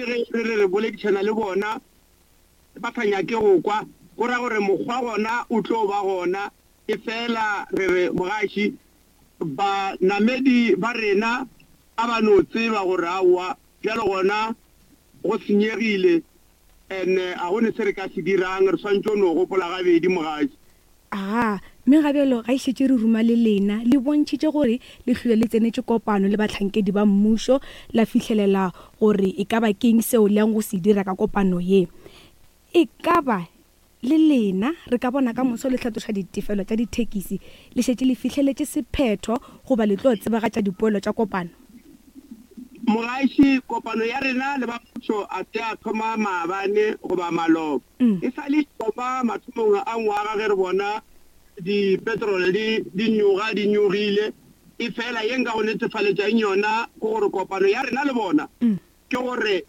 le ge re re re boledišana le bona ba sa nyake go kwa, go ra gore mokgwa gona o tlo ba gona. Efela re re mogaši, banamedi ba rena a ba no tseba gore aowa bjalo gona go senyegile and a go ne se re ka se dirang, re swanetše go no gopola gabedi mogaši. Agaa, mme ga bjalo ga e šetše re ruma le lena, le bontšhitše gore le hlwele le tsenetše kopano le bahlankedi ba mmušo, la fihlelela gore e ka ba keng seo le yang go se dira ka kopano ye. E ka ba le lena re ka bona ka moso le hlatloša ditefelo tša dithekisi, le šetše le fihleletše sephetho goba le tlo tsebagatša dipoelo tša kopano? Mogaši, kopano ya rena le ba mmušo a se ya thoma maabane goba maloba. E sa le e thoma mathomong a ngwaga ge re bona dipetrole di di nyoga di nyogile. Efela ye nka go netefaletšang yona ke gore kopano ya rena le bona ke gore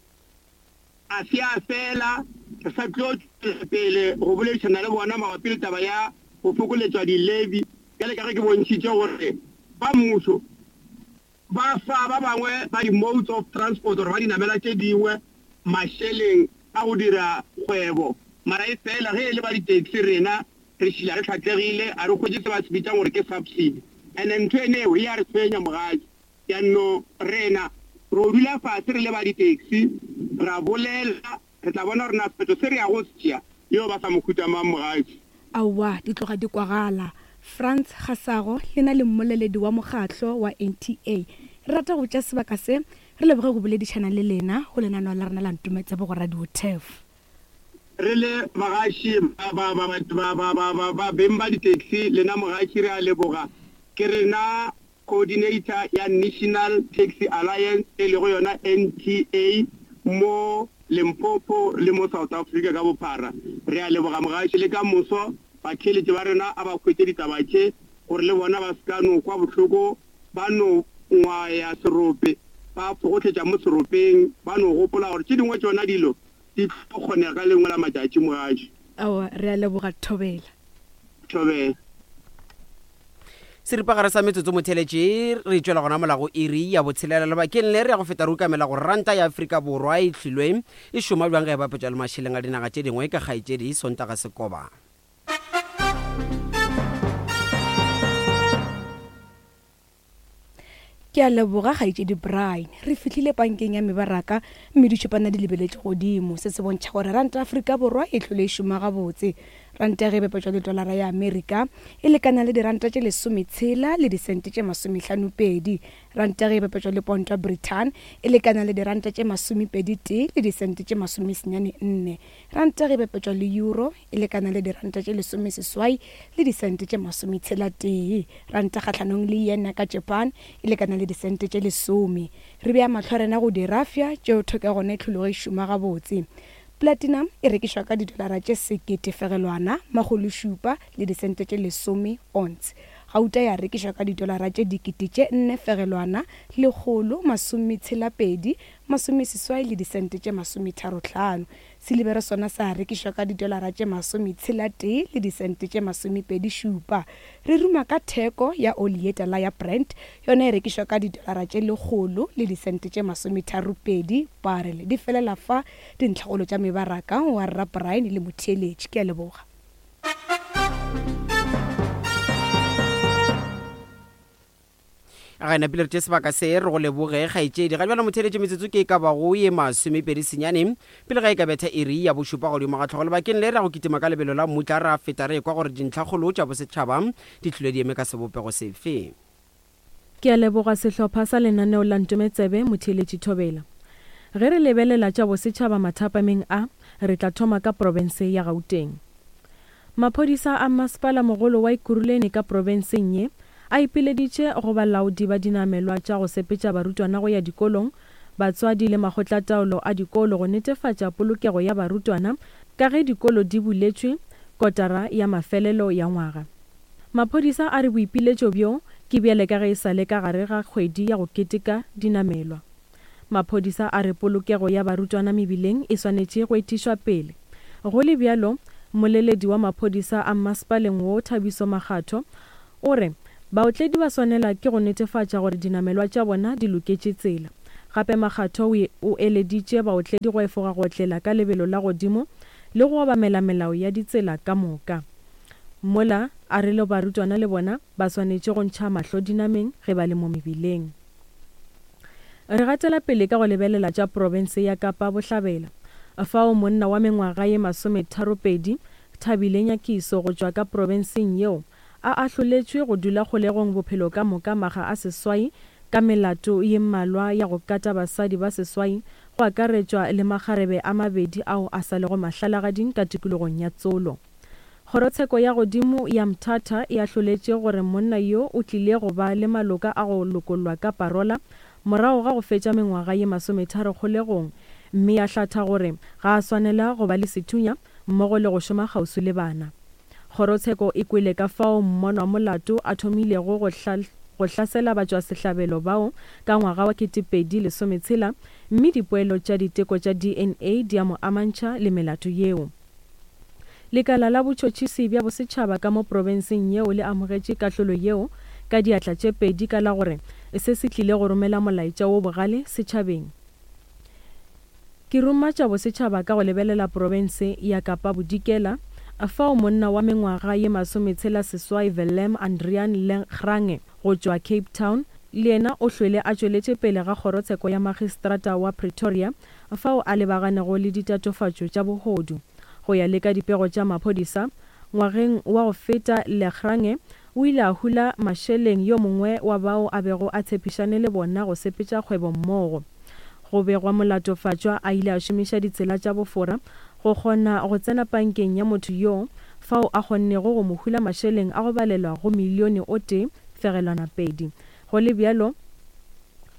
a se ya fela. Re sa tlo tšwela pele go boledišana le bona mabapi le taba ya go fokoletšwa di-levy bjale ka ge ke bontšhitše gore ba mmušo Ba fa ba bangwe ba di-modes of transport or ba dinamela tše dingwe mašeleng a go dira kgwebo, mara e fela ge e le ba di-taxi rena re šila re hlatlegile, a re hwetše se ba se bitšang gore ke subsidy. And ntho ene eo e a re tshwenya mogatša. Bjanno rena ro dula fase re le ba di-taxi ra bolela Re tla bona gore na sephetho se re yago go se tšea e yo ba sa mohuta mang, mogaetši. Aowa, di tloga di kwagala. Frans Gasago, lena le mmoleledi wa mokgahlo wa NTA. Re rata go tšea sebaka se re leboge go boledišana le lena go lenaneo la rena la Ntometsebo go Radio Turf. Re le bagaši ba, ba, ba, ba, ba, ba, ba, ba beng ba di-taxi, lena mogaši re a leboga. Ke rena Coordinator ya National Taxi Alliance e lego yona NTA mo Limpopo le mo South Africa ka bophara. Re a leboga mogaši le ka moso batheeletši ba rena a ba hwetše ditaba tše gore le bona ba se ka no kwa bohloko ba no ngwaya serope ba fogohletša mo seropeng ba no gopola gore tše dingwe tšona dilo di tlo kgonega ka lengwe la matšatši mogaši. Aowa, re a leboga Thobela. Thobela. Seripagare sa metsotso motheletše re tšwela gona mola go iri ya botshelela. Lebakeng le re ya go feta re ukamela gore ranta ya Afrika Borwa e hlilwe e šoma bjang ge e bapetšwa le mašeleng a dinaga tše dingwe ka kgaetšedi Sontaga Sekoba. Ke a leboga, Kgaetšedi Brian. Re fihlile pankeng ya mebaraka mme ditšhupana di lebeletše godimo. Se se bontšha gore ranta ya Afrika Borwa e hlole e šoma gabotse. Ranta ge e bapetšwa le tolara ya Amerika e lekana le diranta tše lesometshela le disente tše masomehlanopedi. Ranta ge e bapetšwa le ponto ya Britain e lekana le diranta tše masomepeditee le disente tše masomesenyane nne. Ranta ge e bapetšwa le euro e lekana le diranta tše lesomeseswai le disente tše masometshela-tee. Ranta kgahlanong le yen ya ka Japan e lekana le disente tše lesome. Re bea mahlo a rena go dirafša tšeo theko ya gona e hlologo e šoma gabotse. Platinum e rekišwa ka didolara tše sekete fegelwana makgološupa le disente tše lesome ounce. Gauta ya rekišwa ka didolara tše dikete tše nne fegelwana lekgolo masometshela-pedi masomeseswai le disente tše masometharo-hlano. Silibere sona sa rekišwa ka didolara tše masometshela-tee le disente tše masomepedi-šupa. Re ruma ka theko ya oli ye tala ya Brent, yona e rekišwa ka didolara tše lekgolo le disente tše masometharo-pedi barrel. Di felela fa dintlhakgolo tša mebaraka wa Rra Brian le motheeletši. Ke a leboga. Ga napile re tše sebaka se re go leboge kgaetšedi. Ga bjalo motheeletši metsotso ke e ka bago ye masomepedi senyane pele ga e ka betha iri ya bošupa godimo ga hlogo. Lebakeng le re ya go kitima ka lebelo la mmutla ra feta re ekwa gore dintlhakgolo tša bosetšhaba di hlile di eme ka sebopego sefe. Ke a leboga sehlopha sa lenaneo la Ntometsebe Motheeletši Thobela. Ge re lebelela tša bosetšhaba mathapameng a, re tla thoma ka profense ya Gauteng. Maphodisa a Mmasepala Mogolo wa Ekurhuleni ka profenseng ye a ipileditše go balaodi ba dinamelwa tša go sepetša barutwana go ya dikolong, batswadi le makgotlataolo a dikolo go netefatša polokego ya barutwana ka ge dikolo di buletšwe kotara ya mafelelo ya ngwaga. Maphodisa a re boipiletšo bjo ke bjale ka ge e sa le ka gare ga kgwedi ya go keteka dinamelwa. Maphodisa a re polokego ya barutwana mebileng e swanetše go etišwa pele. Go le bjalo, mmoleledi wa maphodisa a mmasepaleng wo Thabiso Makgatho o re baotledi ba swanela ke go netefatša gore dinamelwa tša bona di loketše tsela. Gape Makgatho o eleditše baotledi go efoga go otlela ka lebelo la godimo le go obamela melao ya ditsela ka moka. Mola a re le barutwana le bona ba swanetše go ntšha mahlo dinameng ge ba le mo mebileng. Re gatela pele ka go lebelela tša profense ya Kapa Bohlabela, fao monna wa mengwaga ye masometharopedi, Thabile Nyakiso go tšwa ka profenseng yeo, a ahloletšwe go dula kgolegong bophelo ka moka makga a seswai ka melato ye mmalwa ya go kata basadi ba seswai go akaretšwa le makgarebe a mabedi ao a sa lego mahlalagading ka tikologong ya Tsolo. Kgorotsheko ya godimo ya Mthatha e ahloletše gore monna yo o tlile go ba le maloka a go lokollwa ka parola morago ga go fetša mengwaga ye masometharo kgolegong mme ya hlatha gore ga a swanela go ba le sethunya mmogo le go šoma kgauswi le bana. Kgorotsheko e kwele ka fao mmonwamolato a thomilego go go hlasela batšwasehlabelo bao ka ngwaga wa 2016 mme dipoelo tša diteko tša DNA di a mo amantšha le melato yeo. Lekala la botšhotšhisi bja bosetšhaba ka mo profenseng yeo le amogetše kahlolo yeo ka diatla tše pedi ka la gore se se tlile go romela molaetša wo bogale setšhabeng. Ke ruma tša bosetšhaba ka go lebelela profense ya Kapa Bodikela fao monna wa mengwaga ye masometshela-seswai Willem Andrian Lengrange go tšwa Cape Town le yena o hlwele a tšweletše pele ga kgorotsheko ya magistrata wa Pretoria fao a lebaganego le ditatofatšo tša bohodu. Go ya le ka dipego tša maphodisa, ngwageng wa go feta Lengrange o ile a hula mašeleng yo mongwe wa bao a bego a tshepišane le bona go sepetša kgwebo mmogo. Go begwa molatofatšwa a ile a šomiša ditsela tša bofora go kgona go tsena pankeng ya motho yoo fao a kgonnego go mo hula mašeleng a go balelwa go milione o tee fegelwana pedi. Go le bjalo,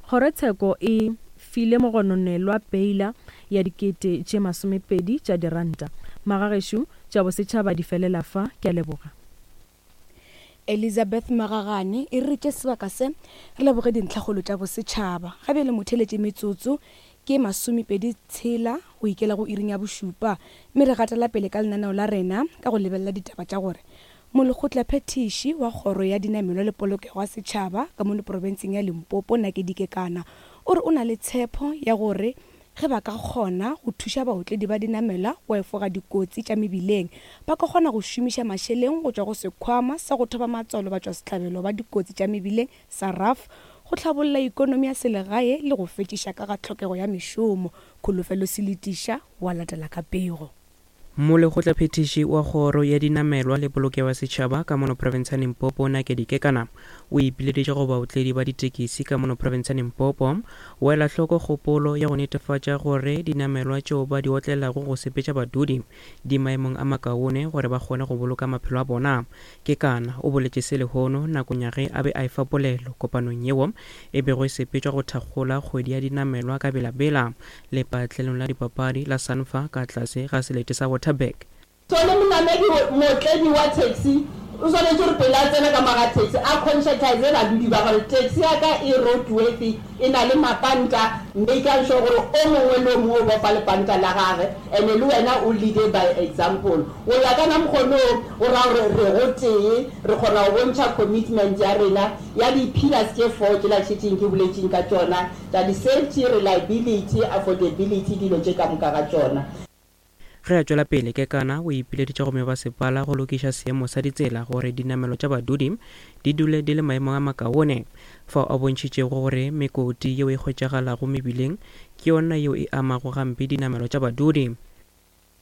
kgorotsheko e file mogononelwa peila ya dikete tše masomepedi tša diranta. Magagešo, tša bosetšhaba di felela fa. Ke a leboga. Elizabeth Magagane e re tše sebaka se re leboge dintlhakgolo tša bosetšhaba. Ga bjale motheeletše metsotso ke masomepedi tshela go ikela go iring ya bošupa mme re gatela pele ka lenaneo la rena ka go lebelela ditaba tša gore Molekgotlaphethiši wa Kgoro ya Dinamelwa le Polokego ya Setšhaba ka mono profenseng ya Limpopo Nakedi Kekana o re o na le tshepo ya gore Ge ba ka kgona go thuša baotledi ba dinamelwa go efoga dikotsi tša mebileng, ba ka kgona go šomiša mašeleng go tšwa go Sekhwama sa go Thoba Matswalo Batšwasehlabelo ba Dikotsi tša Mebileng sa RAF go hlabolla ikonomi ya selegae le go fetšiša ka ga tlhokego ya mešomo. Kholofelo Seletiša wa latela ka pego. Molekgotlaphethiši wa Kgoro ya Dinamelwa le Polokego ya Setšhaba ka mono profense ya Limpopo, Nakedi Kekana, o ipileditše go baotledi ba ditekisi ka mono profense ya Limpopo go ela hloko kgopolo ya go netefatša gore dinamelwa tšeo ba di otlelago go sepetša badudi di maemong a makaone gore ba kgone go boloka maphelo a bona. Kekana o boletše se lehono nakong ya ge a be a efa polelo kopanong yeo e bego e sepetšwa go thakgola kgwedi ya dinamelwa ka Bela-Bela Lepatlelong la dipapadi la Sanfa ka tlase ga selete sa Waterberg. So le monamedi, mootledi wa taxi o swanetše gore pele a tsena ka mo ga taxi a conscientize badudi ba gore taxi ya ka e roadworthy, e na le mapanta, makang sure gore o mongwe le o mongwe o bofa lepanta la gage and le wena o leade by example. Go ya ka na mokgono o, go ra gore re gotee, re kgona go bontšha commitment ya rena ya di-pillars tše four tšela šetšeng ke boletšeng ka tšona. Tša di-safety, reliability, affordability, dilo tše ka moka ga tšona. Ge a tšwela pele, Kekana o ipileditše go mebasepala go lokiša seemo sa ditsela gore dinamelo tša badudi di dule di le maemong a makaone, fao a bontšhitšego gore mekoti yeo e hwetšagalago mebileng ke yona yeo e amago gampe dinamelo tša badudi.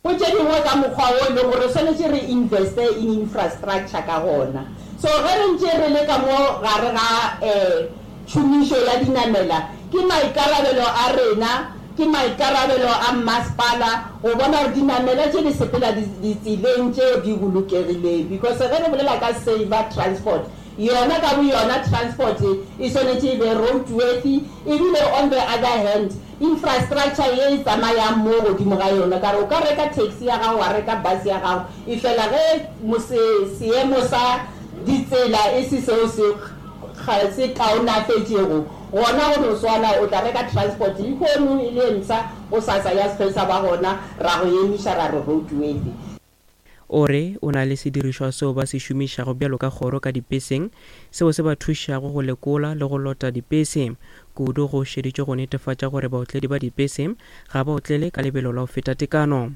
Go tše dingwe ka mokgwa wo e leng gore re swanetše re investe in infrastructure ka gona. So ge re ntše re le ka mo gare ga tšhomišo ya dinamela, ke maikarabelo a rena, ke maikarabelo a mmasepala go bona gore dinamela tše di sepela ditseleng tše di bolokegileng because ge re bolela ka safer transport, Yona ka boyona transport e swanetše e be roadworthy ebile on the other hand infrastructure ye e tsamayang mo godimo ga yona, ka re o ka reka taxi ya gago wa reka bus ya gago efela ge seemo sa ditsela e se seo se se kaonafetšego gona go no swana o tla reka transport lehono e le e mpsha gosasa ya se sa ba gona ra go emiša ra re roadworthy. O re o na le sedirišwa seo ba se šomišago bjalo ka kgoro ka dipeseng seo se ba thušago go lekola le go lota dipese. kudu go šeditšwe go netefatša gore baotledi ba dipese ga ba otlele ka lebelo la go feta tekano.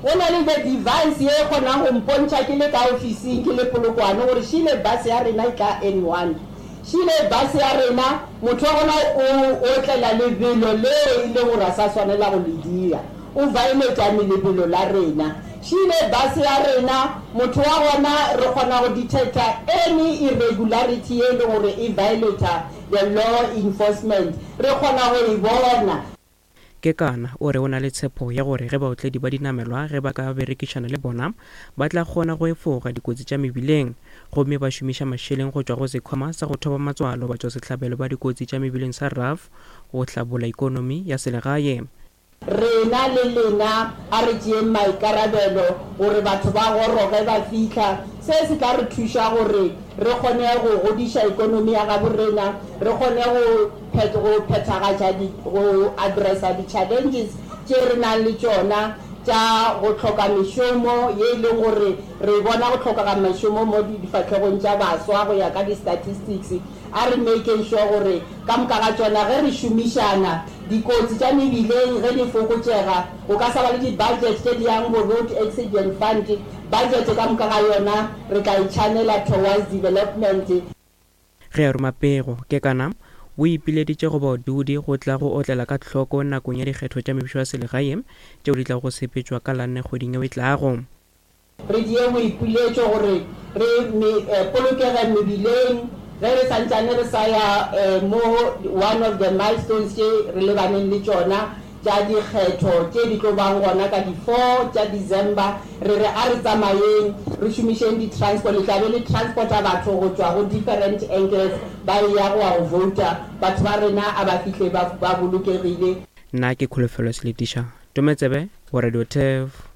Go na le the device ye e kgonang go mpontšha ke le ka ofising ke le Polokwane gore šile bus ya rena e tla N1. Šile bus ya rena motho wa gona o otlela lebelo leo e leng gore a sa swanela go le dira. O violate lebelo la rena. Šile bus ya rena motho wa gona re kgona go detecta any irregularity ye e leng gore e violate the law enforcement. Re kgona go e bona. Kekana o re o na le tshepo ya gore ge baotledi ba dinamelwa ge ba ka berekišana le bona ba tla kgona go efoga dikotsi tša mebileng gomme ba šomiša mašeleng go tšwa go Sekhwama sa go Thoba Matswalo Batšwasehlabelo ba Dikotsi tša Mebileng sa RAF go hlabolla ikonomi ya selegae. Rena le lena a re tšeeng maikarabelo gore batho ba goroge ba fihla. Se se tla re thuša gore re kgone go godiša ikonomi ya gabo rena, re kgone go go phethagatša di, go addressa di-challenges tše re nang le tšona tša go hloka mešomo ye e leng gore re bona go hlokega mešomo mo difahlegong tša baswa go ya ka di-statistics. A re makeng sure gore ka moka ga tšona ge re šomišana, dikotsi tša mebileng ge di fokotšega, go ka sa ba le di-budget tše di yang bo Road Accident Fund, budget ka moka ga yona re tla e channela towards development. Ge a roma pego, Kekana o ipileditše go baodudi go tla go otlela ka hloko nakong ya dikgetho tša mebušo ya selegae tšeo di tlago go sepetšwa ka la nne kgweding yeo e tlago. Re die boipiletšo gore re polokege mebileng ge re santšane re sa ya mo one of the milestones tše re lebaneng le tšona tša dikgetho tše di tlo bang gona ka di four tša December. Re re a re tsamayeng re šomišeng di transport, le tla be le transporta batho go tšwa go different angles ba eya go ya go vouta. Batho ba rena a ba fihle ba bolokegile. Nna ke Kholofelo Seletiša, Tometsebe go Radio Turf.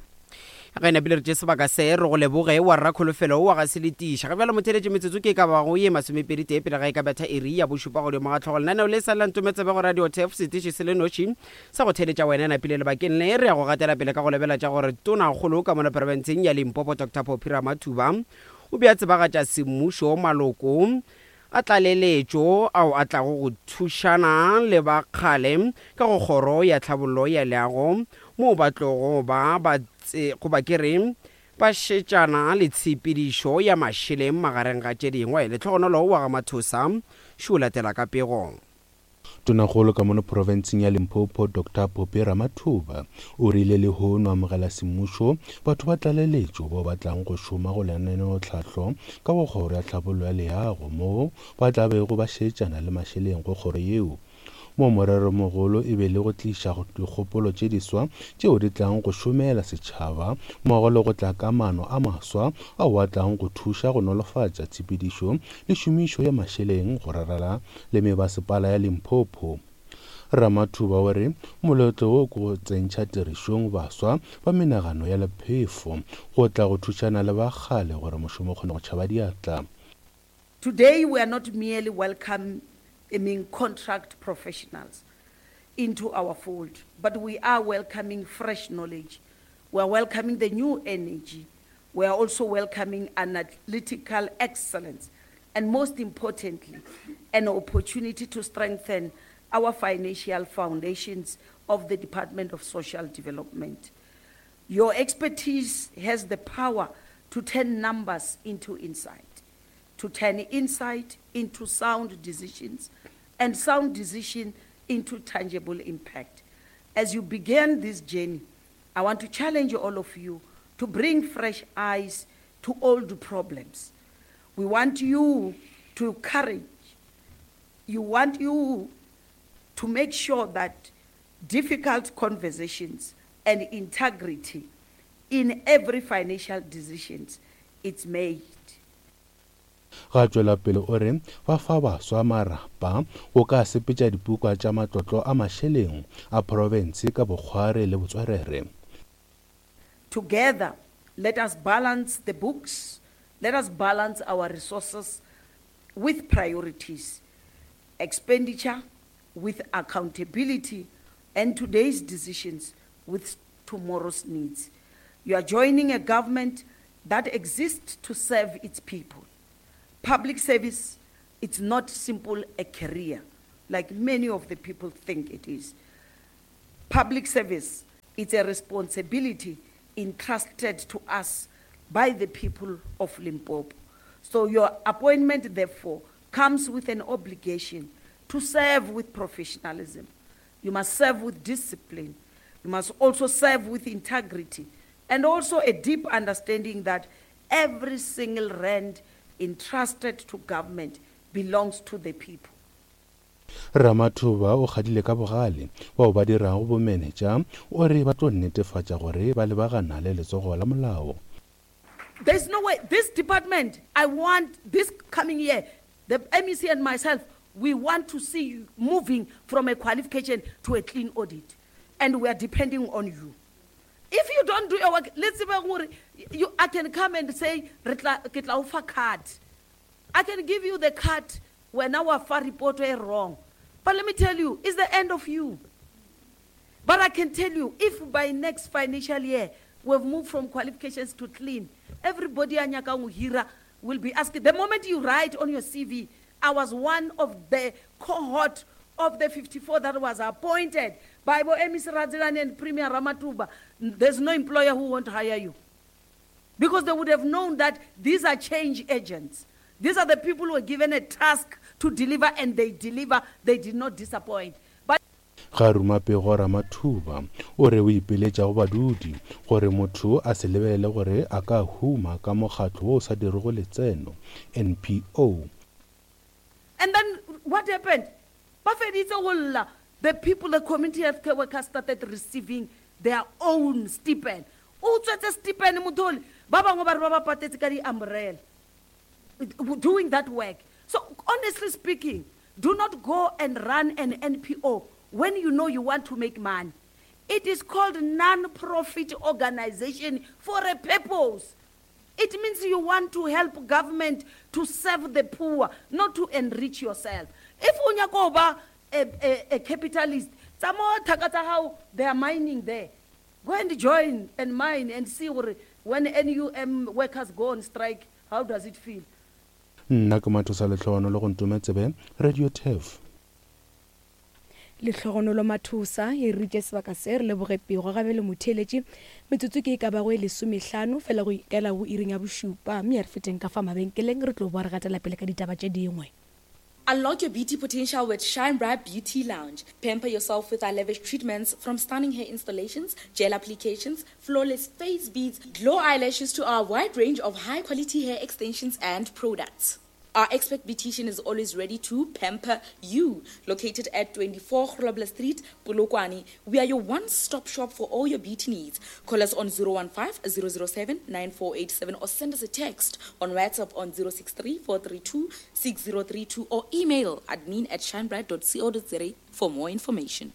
Ge napile re tše sebaka se re go leboge wa rra Kholofelo wa ga Seletiša. Ga bjalo motheeletši metsotso ke e ka bago ye masomepedi tee pele ga e ka betha iri ya bošupa godimo ga hlogo. Lenaneo le sa la Ntometsebe go Radio Turf setiši se le noši sa go theeletša wena napile lebakeng le re ya go gatela pele ka go lebela tša gore Tonakgolo ka mono profenseng ya Limpopo Doctor Phophi Ramathuba o be a tsebagatša semmušo maloko a tlaleletšo ao a tlago go thušana le ba kgale ka go Kgoro ya Tlhabollo ya Leago moo ba tlogo ba ba goba ke re ba šetšana le tshepedišo ya mašeleng magareng ga tše dingwe. Lehlogonolo wa ga Mathosa šo latela ka pego. Tonakgolo ka mono profenseng ya Limpopo Doctor Phophi Ramathuba o rile lehono amogela semmušo batho ba tlaleletšo bao ba tlang go šoma go lenaneotlhahlo ka go kgoro ya tlhabollo ya leago moo ba tla bego ba šetšana le mašeleng go kgoro yeo moo moreromogolo e be le go tliša dikgopolo tše diswa tšeo di tlang go šomela setšhaba mmogo le go tla ka maano a maswa ao a tlang go thuša go nolofatša tshepedišo le šomišo ya mašeleng go rarela le mebasepala ya Limpopo. Ramathuba o re moletlo wo ke go tsentšha tirišong baswa ba menagano ya lephefo go tla go thušana le ba kgale gore mošomo o kgone go tšhaba diatla. Today we are not merely welcoming contract professionals into our fold, but we are welcoming fresh knowledge, we are welcoming the new energy, we are also welcoming analytical excellence, and most importantly, an opportunity to strengthen our financial foundations of the Department of Social Development. Your expertise has the power to turn numbers into insight, to turn insight into sound decisions, and sound decision into tangible impact. As you begin this journey, I want to challenge all of you to bring fresh eyes to old problems. We want you to courage. You want you to make sure that difficult conversations and integrity in every financial decisions it's made. Ga tšwela pele o re ba fa baswa marapa go ka sepetša dipuka tša matlotlo a mašeleng a profense ka bokgware le botswerere. Together, let us balance the books, let us balance our resources with priorities, expenditure with accountability, and today's decisions with tomorrow's needs. You are joining a government that exists to serve its people. Public service, it's not simple a career. like many of the people think it is. Public service it's a responsibility entrusted to us by the people of Limpopo. So your appointment, therefore, comes with an obligation to serve with professionalism. You must serve with discipline. You must also serve with integrity and also a deep understanding that every single rand entrusted to government belongs to the people. Ramathuba o kgadile ka bogale bao ba dirago bomenetša, o re ba tlo netefatša gore ba lebagana le letsogo la molao. There's no way. This department, I want this coming year, the MEC and myself, we want to see you moving from a qualification to a clean audit. And we are depending on you. If you don't do your work, let's see, you, I can come and say, "Re tla- ke tla o fa card. I can give you the card when our far report were wrong. But let me tell you, it's the end of you. But I can tell you, if by next financial year we've moved from qualifications to clean, everybody a nyakang go hira will be asking. The moment you write on your CV, I was one of the cohort of the 54 that was appointed by Bo MEC Radzilani and Premier Ramathuba. There's no employer who won't hire you. Because they would have known that these are change agents. These are the people who were given a task to deliver and they deliver. They did not disappoint. But Ga ruma pego Ramathuba o re o ipiletša go badudi gore motho a se lebelele gore a ka huma ka mokgatlo wo o sa dirego letseno, NPO. And then what happened? Ba feditse go lla. The people, the community healthcare workers started receiving their own stipend. O utswetse stipend motho ole. Ba bangwe ba re ba ba patetse ka di-umbrella. Doing that work. So honestly speaking, do not go and run an NPO when you know you want to make money. It is called non-profit organization for a purpose. It means you want to help government to serve the poor, not to enrich yourself. If o nyaka go ba a, a, a capitalist, tsamaya thaka tsa gago, they are mining there. Go and join and mine and see gore when NUM workers go on strike, how does it feel? Nna ke Mathosa Lehlohonolo go Ntome Tsebe, Radio Turf. Lehlogonolo Mathosa e ritše sebaka se re leboge pego ga bjale motheeletši. Metsotso ke e ka bago e lesomehlano fela go ikela go iring ya bošupa mme a re feteng ka fa mabenkeleng re tlo boa re gatela pele ka ditaba tše dingwe. Unlock your beauty potential with Shine Bright Beauty Lounge. Pamper yourself with our lavish treatments from stunning hair installations, gel applications, flawless face beads, glow eyelashes to our wide range of high quality hair extensions and products. Our expert beautician is always ready to pamper you. Located at 24 Grobler Street, Polokwane, we are your one-stop shop for all your beauty needs. Call us on 015 007 9487 or send us a text on WhatsApp on 063 432 6032 or email admin at shinebright.co.za for more information.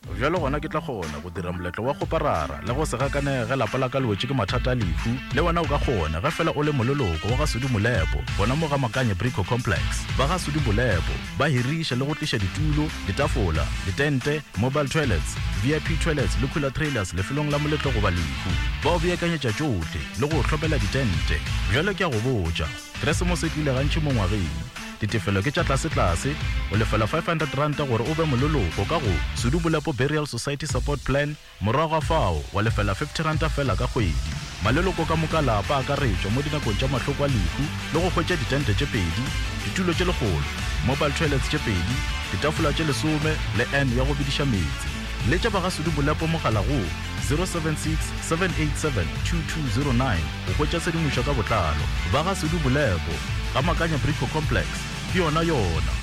Bjalo gona ke tla kgona go dira moletlo wa kgoparara le go se gakanege ge lapa la ka le wetše ke mathata a lehu. Le wena o ka kgona ge fela o le moleloko wa ga Sudi Molepo gona mo ga Makanye Brico Complex. Ba ga Sudi Molepo ba hiriša le go tliša ditulo, ditafola, ditente, mobile toilets, VIP toilets le cooler trailers lefelong la moletlo goba lehu. Ba o beakanyetša tšohle le go o hlomela ditente. Bjalo ke a go botša, Keresemose e tlile gantši mo ngwageng. Ditefelo ke tša tlasetlase, o lefela R500 gore o be moleloko ka go Sudu Bolepo Burial Society Support Plan, morago ga fao wa lefela R50 feela ka kgwedi. Maleloko ka moka a lapa a akaretšwa mo dinakong tša mahloko a lehu le go hwetša ditente tše pedi, ditulo tše lekgolo, mobile toilets tše pedi, ditafola tše lesome le urn ya go bediša meetse. Letša ba ga Sudu Bolepo mogala go 076 787 2209 go hwetša tshedimošo ka botlalo. Ba ga Sudu Bolepo. Ga Makanya Brico Complex, ke yona yona.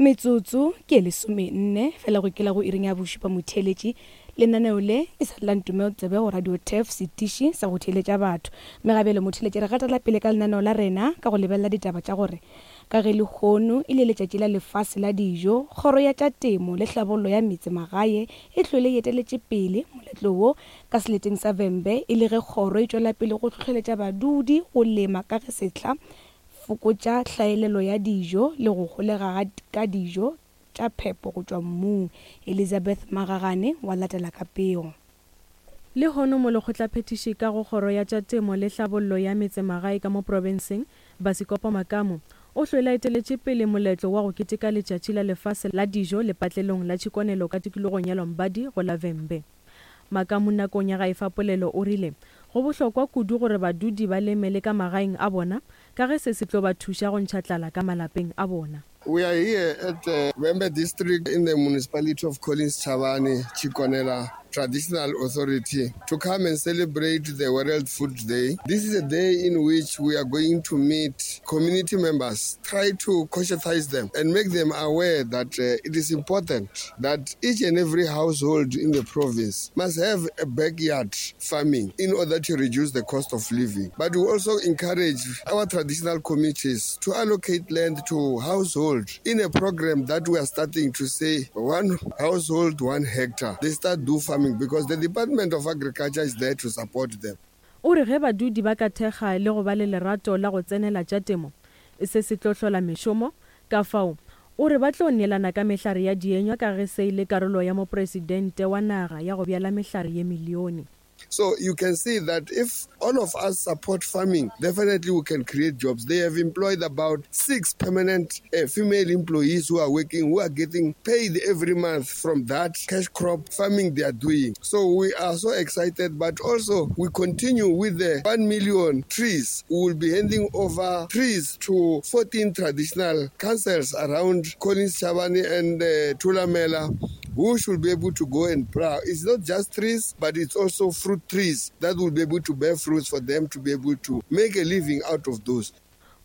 Metsotso ke e lesomenne fela go ikela go iring ya bošupa motheeletši. Lenaneo le e sa le la Ntumeo Tsebe go Radio Turf, setiši sa go theeletša batho. Mme ga bjale motheeletši re gatela pele ka lenaneo la rena ka go lebelela ditaba tša gore ka ge lehono e le letšatši la lefase la dijo, Kgoro ya tša Temo le Hlabollo ya Metse Magae e hlwele e eteletše pele moletlo wo Ka seleteng sa Vhembe e le ge kgoro e tšwela pele go hlohleletša badudi go lema ka ge sehla fokotša hlaelelo ya dijo le go holega ga ka dijo tša phepo go tšwa mmung. Elizabeth Magagane wa latela ka pego. Lehono Molekgotlaphethiši ka go Kgoro ya tša Temo le Hlabollo ya Metsemagae ka mo profenseng, Basikopo Makamu, o hlwele a eteletše pele moletlo wa go keteka Letšatši la Lefase la Dijo lepatlelong la Tshikonelo ka tikologong ya Lombardy go la Vhembe. Makamu nakong ya ga efa polelo o rile go bohlokwa kudu gore badudi ba leme le ka magaeng a bona ka ge se se tlo ba thuša go ntšha tlala ka malapeng a bona. We are here at the Vhembe district in the municipality of Collins Chabane, Tshikonela Traditional Authority to come and celebrate the World Food Day. This is a day in which we are going to meet community members, try to conscientize them and make them aware that uh, it is important that each and every household in the province must have a backyard farming in order to reduce the cost of living. But we also encourage our traditional communities to allocate land to household in a program that we are starting to say one household, one hectare. They start do farming because the Department of Agriculture is there to support them. O re ge badudi ba ka thekga le go ba le lerato la go tsenela tša temo, se se tlo hlola mešomo. Ka fao, o re ba tlo neelana ka mehlare ya dienywa ka ge se e le karolo ya Mopresidente wa naga ya go bjala mehlare ye milione. So you can see that if all of us support farming, definitely we can create jobs. They have employed about six permanent uh, female employees who are working, who are getting paid every month from that cash crop farming they are doing. So we are so excited, but also we continue with the 1 million trees. We will be handing over trees to 14 traditional councils around Collins Chabane and uh, Tulamela who should be able to go and plow. It's not just trees, but it's also fruit trees that will be able to bear fruits for them to be able to make a living out of those.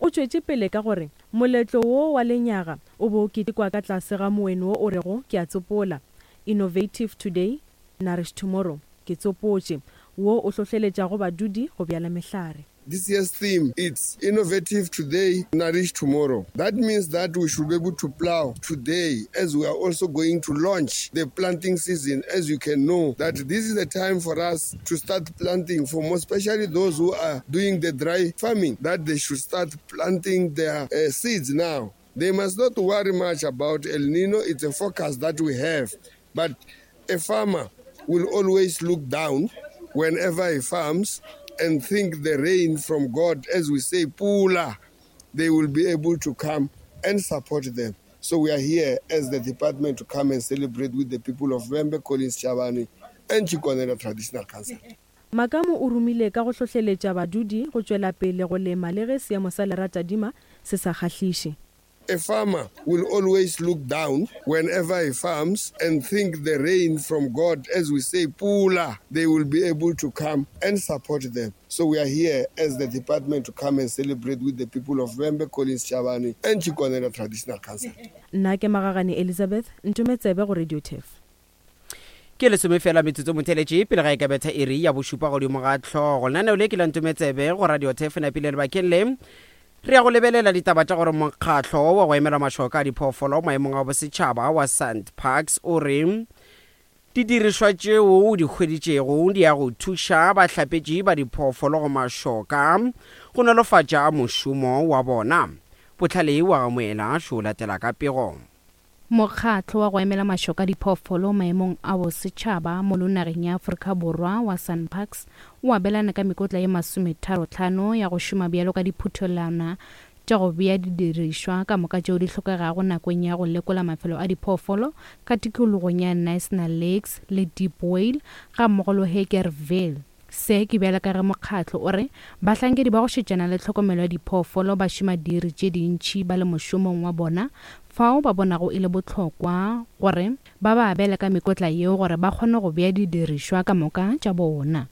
O tšwetše pele ka gore moletlo wo wa lenyaga o be o ketekwa ka tlase ga moeno wo o rego Ke a tsopola, Innovative Today, Nourish Tomorrow, Ke tsopotše, wo o hlohleletšago badudi go bjala mehlare. This year's theme it's innovative today, nourish tomorrow. That means that we should be able to plow today as we are also going to launch the planting season. As you can know, that this is the time for us to start planting for more, especially those who are doing the dry farming, that they should start planting their uh, seeds now. They must not worry much about El Nino. It's a forecast that we have. But a farmer will always look down whenever he farms and think the rain from God, as we say, Pula, they will be able to come and support them. So we are here as the department to come and celebrate with the people of Vhembe, Collins Chabane, and Tshikonela Traditional Council. Makamu o rumile ka go hlohleletša badudi go tšwela pele go lema le ge seemo sa leratadima se sa kgahliše. A farmer will always look down whenever he farms and think the rain from God, as we say, Pula, they will be able to come and support them. So we are here as the department to come and celebrate with the people of Vhembe, Collins Chabane and Tshikonela Traditional Council. Nna ke Magagane Elizabeth, ntome tsebe go Radio Turf. Ke lesome fela metsotso motheletše pele ga e ka betha iri ya bošupa godimo ga hlogo. Lenaneo le ke la Ntometsebe go Radio Turf napile lebakeng le. Re ya go lebelela ditaba tša gore mokgatlo wa go emela mašoka a diphoofolo maemong a bosetšhaba wa SANParks o re didirišwa tšeo o di hweditšego di ya go thuša bahlapetši ba diphoofolo go mašoka go nolofatša mošomo wa bona. Bohlale wa ga Moela šo latela ka pego. Mokgatlo wa go emela mašoka a diphoofolo maemong a bosetšhaba mono nageng ya Afrika Borwa wa SANParks o abelana ka mekotla ye masometharotlhano ya go šoma bjalo ka diphuthelwana tša go bea didirišwa ka moka tšeo di hlokegago nakong ya go lekola mafelo a diphoofolo ka tikologong ya Knysna Lakes le Deep Whale gammogo le Hagerville. Se ke bjalo ka ge mokgatlo o re bahlankedi ba go šetšana le tlhokomelo ya diphoofolo ba šoma diiri tše dintši ba le mošomong wa bona fao ba bonago e le bohlokwa gore ba ba abele ka mekotla yeo gore ba kgone go bea didirišwa ka moka tša bona.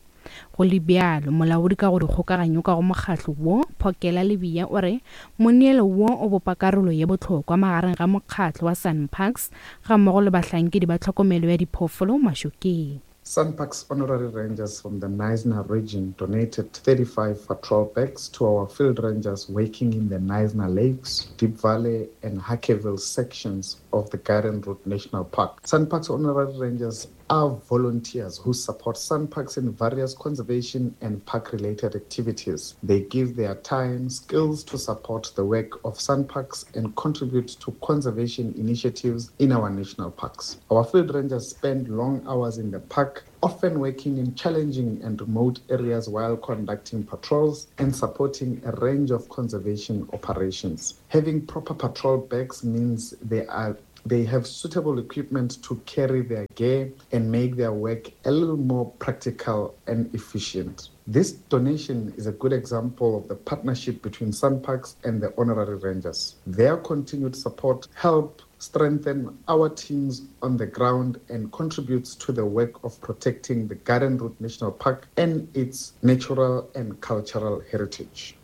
Go le bjalo, molaodi ka go dikgokaganyo ka go mokgatlo wo, Phokela Lebiya o re moneelo wo o bopa karolo ye bohlokwa magareng ga mokgatlo wa SANParks gammogo le bahlankedi ba tlhokomelo ya diphoofolo mašokeng. SANParks honorary rangers from the Knysna region donated 35 patrol bags to our field rangers working in the Knysna Lakes, Deep Valley and Hackeville sections of the Garden Route National Park. SANParks honorary rangers are volunteers who support SANParks in various conservation and park-related activities. They give their time, skills to support the work of SANParks and contribute to conservation initiatives in our national parks. Our field rangers spend long hours in the park often working in challenging and remote areas while conducting patrols and supporting a range of conservation operations. Having proper patrol bags means they are they have suitable equipment to carry their gear and make their work a little more practical and efficient. This donation is a good example of the partnership between SANParks and the Honorary Rangers. Their continued support help strengthen our teams on the ground and contributes to the work of protecting the Garden Route National Park and its natural and cultural heritage.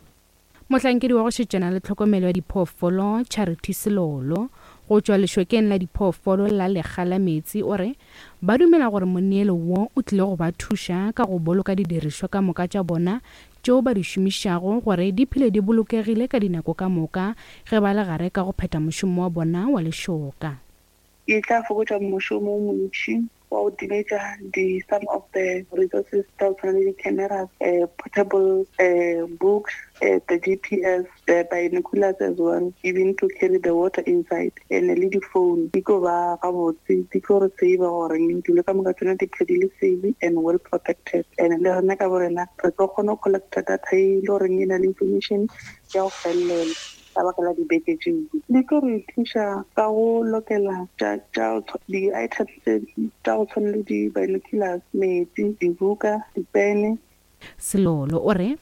Mohlankedi wa go šetšana le tlhokomelo ya diphoofolo, Charity Selolo, go tšwa lešokeng la diphoofolo la Lekga la Meetse o re ba dumela gore moneelo wo o tlile go ba thuša ka go boloka didirišwa ka moka tša bona tšeo ba di šomišago gore di phele di bolokegile ka dinako ka moka ge ba le gare ka go phetha mošomo wa bona wa lešoka. E tla fokotša mošomo o montši wa go timetša di some of the resources tša go tshwana le di-cameras, portable books, the G_P_S, the binoculars as well, even to carry the water inside, and le di-phone di tlo ba gabotse, di tlo re save gore dilo ka moka tsona di phele di le safe and well protected. And le rena ka bo rena re tlo kgona go collecta data e le goreng e na le information ya go felelela ka baka la dibeke tšeo. Di tlo re thuša ka go lokela di-items tša go tshwana le di-binoculars, metsi, dibuka, dipene. Selolo o re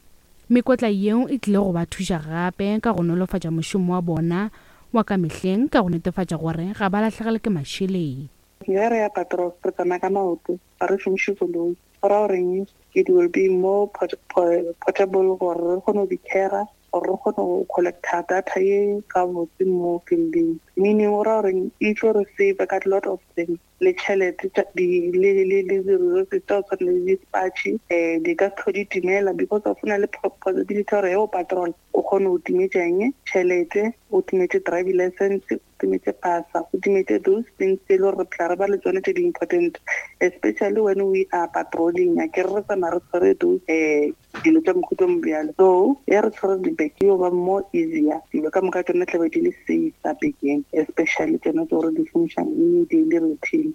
mekotla yeo e tlile go ba thuša gape ka go nolofatša mošomo wa bona wa ka mehleng ka go netefatša gore ga ba lahlegelwe ke mašeleng. Ge re ya patrol re tsamaya ka maoto, ga re šomiše koloi. Go ra goreng it will be more portable gore re kgone go di carra gore re kgone go collecta data ye gabotse mo fielding. Meaning go ra goreng e tlo re save ka lot of things. le tšhelete le le le di-resources tsa go tshwana le di-spatšhe um di ka se di timela because of na le possibility gore ge o patrol o kgone go timetša eng tšhelete o timetše driving license o timetše pasa o timetše those things tse e le gore re phela re ba le tsone tse di-important especially when we are patrolling a ke re re tsamaya re tshwere those um dilo tša mohuta o bjalo so ya re tshwere dibeke yo ba more easier dilo ka moka tsone tlabe di le safe ka bekeng especially tsone tse gore di šomišang in daily routine.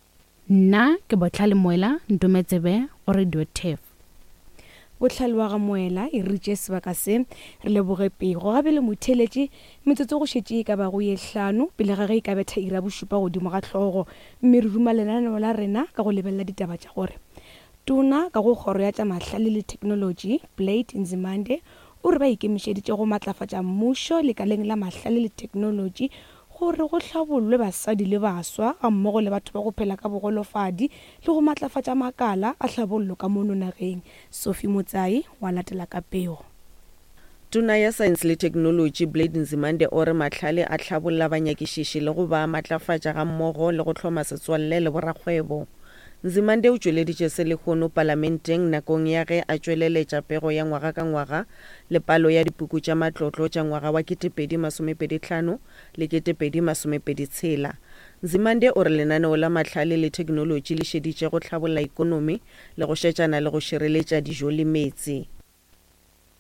Nna ke Bohlale Moela Ntometsebe go Radio Turf. Bohlale wa ga Moela e re tšee sebaka se re leboge pego. Ga bjale motheeletši, metsotso go šetše e ka bago ye hlano pele ga ge e ka betha iri ya bošupa godimo ga hlogo, mme re ruma lenaneo la rena ka go lebelela ditaba tša gore Tona ka go Kgoro ya tša Mahlale le Theknolotši, Blade Nzimande, o re ba ikemišeditše go matlafatša mmušo lekaleng la mahlale le theknolotši gore go hlabollwe basadi le baswa gammogo le batho ba go phela ka bogolofadi le go matlafatša makala a hlabollo ka mono nageng. Sophie Motsai wa latela ka pego. Tona ya Saense le Theknolotši Blade Nzimande o re mahlale a hlabolla banyakišiši le go ba matlafatša gammogo le go hloma setswalle le borakgwebo. Nzimande o tšweleditše se lehono Palamenteng nakong ya ge a tšweleletša pego ya ngwaga ka ngwaga le palo ya dipuku tša matlotlo tša ngwaga wa 2025 le 2026. Nzimande o re lenaneo la mahlale le theknolotši le šeditše go hlabolla ikonomi le go šetšana le go šireletša dijo le meetse.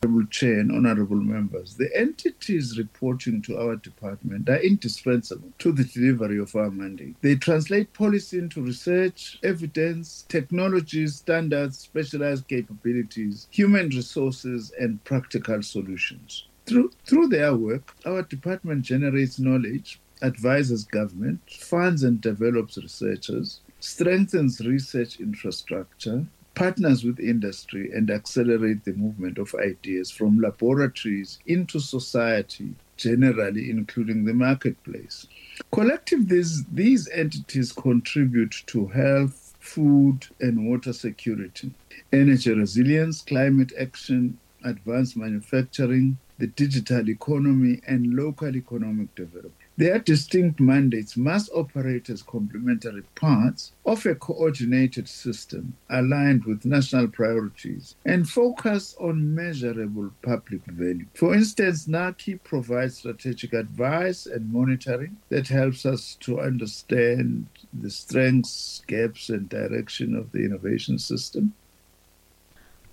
Honourable Chair and Honourable Members, the entities reporting to our department are indispensable to the delivery of our mandate. They translate policy into research, evidence, technologies, standards, specialized capabilities, human resources, and practical solutions. Through, through their work, our department generates knowledge, advises government, funds and develops researchers, strengthens research infrastructure, partners with industry and accelerate the movement of ideas from laboratories into society generally, including the marketplace. Collectively, these, these entities contribute to health, food and water security, energy resilience, climate action, advanced manufacturing, the digital economy, and local economic development. Their distinct mandates must operate as complementary parts of a coordinated system aligned with national priorities and focus on measurable public value. For instance, NACI provides strategic advice and monitoring that helps us to understand the strengths, gaps, and direction of the innovation system.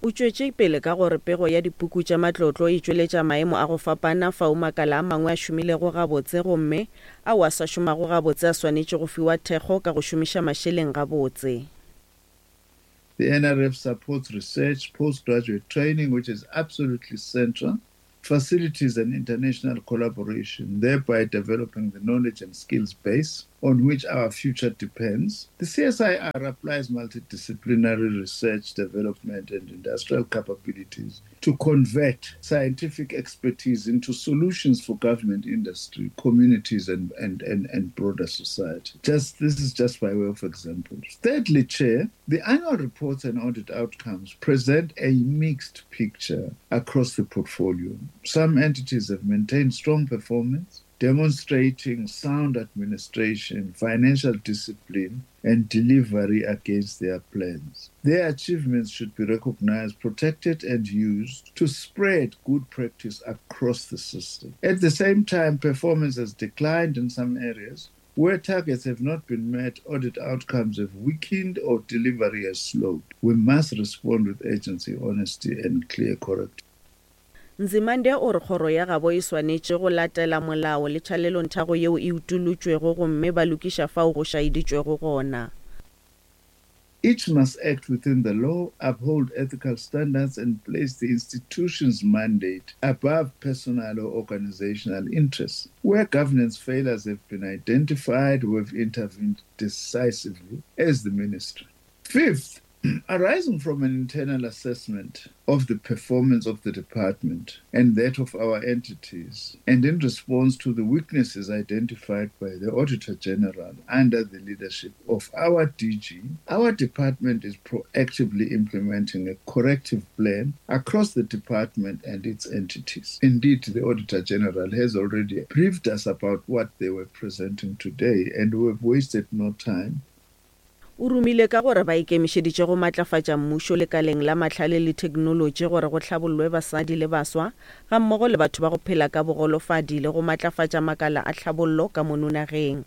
O tšwetše pele ka gore pego ya dipuku tša matlotlo e tšweletša maemo a go fapana fao makala a mangwe a šomilego gabotse gomme ao a sa šomago gabotse a swanetše go fiwa thekgo ka go šomiša mašeleng gabotse. The NRF supports research, postgraduate training, which is absolutely central, facilities and international collaboration, thereby developing the knowledge and skills base on which our future depends. The CSIR applies multidisciplinary research, development, and industrial capabilities to convert scientific expertise into solutions for government, industry, communities, and, and, and, and broader society. Just This is just by way of example. Thirdly, Chair, the annual reports and audit outcomes present a mixed picture across the portfolio. Some entities have maintained strong performance, demonstrating sound administration, financial discipline, and delivery against their plans. Their achievements should be recognized, protected, and used to spread good practice across the system. At the same time, performance has declined in some areas. Where targets have not been met, audit outcomes have weakened or delivery has slowed. We must respond with urgency, honesty, and clear corrective. Nzimande o re kgoro ya gabo e swanetše go latela molao le tšhalelonthago yeo e utolotšwego gomme ba lokiša fao go šaeditšwego gona. Each must act within the law, uphold ethical standards and place the institution's mandate above personal or organizational interests. Where governance failures have been identified, we've intervened decisively as the ministry. Fifth, arising from an internal assessment of the performance of the department and that of our entities, and in response to the weaknesses identified by the Auditor General under the leadership of our DG, our department is proactively implementing a corrective plan across the department and its entities. Indeed, the Auditor General has already briefed us about what they were presenting today, and we've wasted no time. O rumile ka gore ba ikemišeditše go matlafatša mmušo lekaleng la mahlale le theknolotši gore go hlabollwe basadi le baswa gammogo le batho ba go phela ka bogolofadi le go matlafatša makala a tlhabollo ka mono nageng.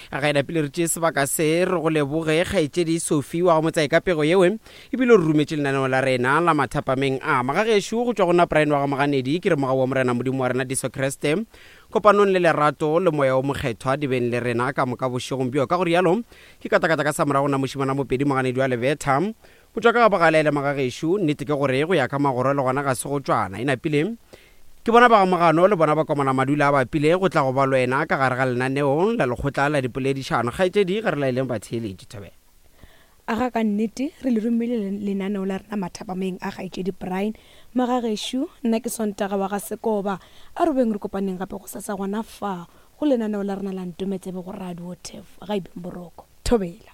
Ga e napile re tšee sebaka se re go leboge kgaetšedi Sophie wa go motsae ka pego yeo ebile o re rometše lenaneo la rena la mathapameng a magagešo go tšwa go nna Brian wa ga Moganedi ke re mogau wa Morena Modimo wa rena Jesu Kriste kopanong le lerato le moya o mokgethwa di beng le rena ka moka bošegong bjo ka go rialo Ke katakata ka sa morago na mošemana Mopedi moganedi wa Lebetha. Go tšwa ka ga bogale le magagešo, nnete ke gore go ya ka magoro le gona ga se go tšwana. E napile ke bona ba ga Mogano le bona ba komana madula a bapile go tla go ba lwena ka gare ga lenaneo la lekgotla la dipoledišano. Kgaetšedi ga re laeleng batheeletši. Thobela. Aga ka nnete re le romile lenaneo la rena mathapameng a kgaetšedi Brian. Magagešo, nna ke Sontaga wa ga Sekoba. A re boeng re kopaneng gape gosasa gona fa Go lenaneo la rena la Ntometsebe go Radio Turf, ga e beng boroko. Thobela.